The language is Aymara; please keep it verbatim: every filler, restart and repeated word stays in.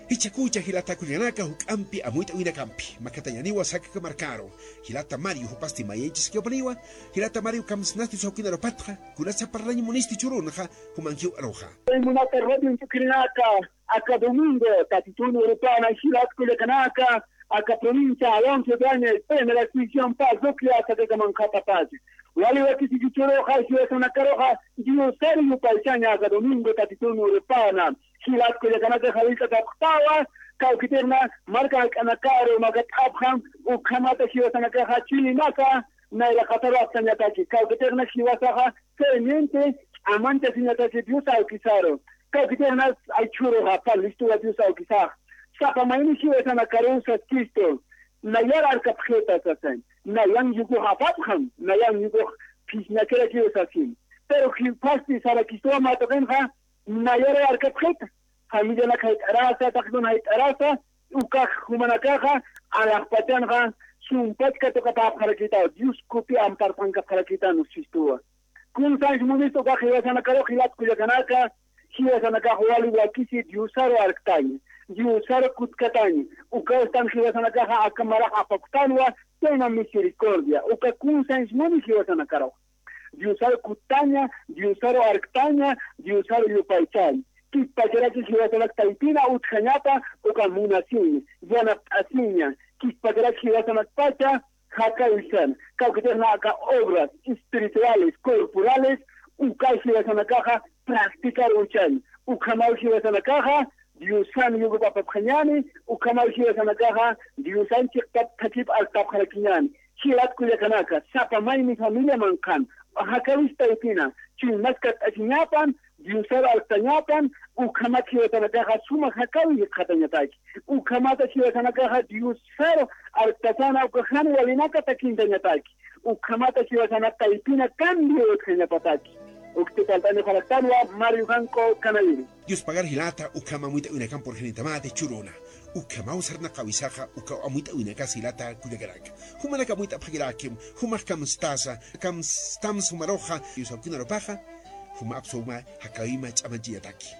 Jichhakucha jilata kullakanaka juk'ampi amuyt'awinakampi. Makatañaniwa Sakaka markaru. Jilata Mario jupasti mayaychasakipaniwa. Jilata Mario kamsnasti sawkinarupatxa. Kunasa parlañ munisti churunxa. Jumankiw aruxa. Munata radio tukirinaka. Aka domingo, tatitun urupana jilat kullakanaka. Aka provincia Alonso Ibáñez, primera sección, parroquia, Sakaka manqhata pasi. Wali wakisiki churuxa, jiwasanakaruxa, Diosar yupaychaña aka domingo, tatitun urupana. Jilat kullakanaka jawillt'akapxtawa, kawkitixna marka jak'anakaru makat'apxam, ukhamata jiwasanakaxa chilimaka, nayra qatarapxtañataki, kawkitixna jiwasaxa creyente, amanchasiñataki Dios awkisaru, kawkitixna aychhuruxa, palistuwa Dios awkisax, sapa mayni jiwasanakaru saskistu, nayar arkapxita sasañ, nayan yukux apapxam, nayan yukux phisñakirakiw sasin, pero jipasti sarakistuwa matuqinxa, Nayaru arkapxita, familianak jayt'arasa, taqkun jayt'arasa, ukax jumanakaxa, alaxpachanxa, sumpach katuqapäpxarakïtaw, Dios kupi amparpankapxarakïtan usistuwa. Kun sanch munista ukax jiwasanakaru jilat kullakanaka, jiwasanakax wali wakisi Diosaru arktaña, Diosaru kutkataña, ukawstan jiwasanakaxa aka marax apapktanwa, tena misericordia, uka kun sanch muni jiwasanakaru. Diosaru kuttaña, Diosaru arktaña, Diosaru yupaychaña. Kikpacharaki jiwasanak taypina utjañapa, uka munasiña, yanapt'asiña. Kikpacharaki jiwasanakpacha, jakawisan. Kawkitixna aka obras espirituales, corporales, uka jiwasanakaxa practicar uchaña. Ukhamaw jiwasanakaxa, Diosan yukupapapxañani, ukhamaw jiwasanakaxa, Diosan chiqtap thakip alktapxarakiñani. Jilat kullakanaka, sapa mayni familia manqhan, jakawis taypina, chuymas katt'asiñapan, Diosaru alktañapan, ukhamat jiwasanakaxa suma jakawi jikxatañataki. Ukhamata jiwasanakaxa Diosaru alktasana uka jan walinaka takintañataki. Ukhamata jiwasanak taypina cambio utjañapataki. Ukti palt'ani juraktanwa Mario Janco Canaviri. Dios pagar jilata, ukhama amuyt'awinakan purjanitamati churuna. Ukhamaw sarnaqawisaxa, uka amuyt'awinakas jilata kullakanaka. Jumanak amuyt'apxakirakim, jumax kamstasa, kamstams jumaruxa, Dios awkinarupaxa, juma apsuma, jakawima ch'amanchinataki.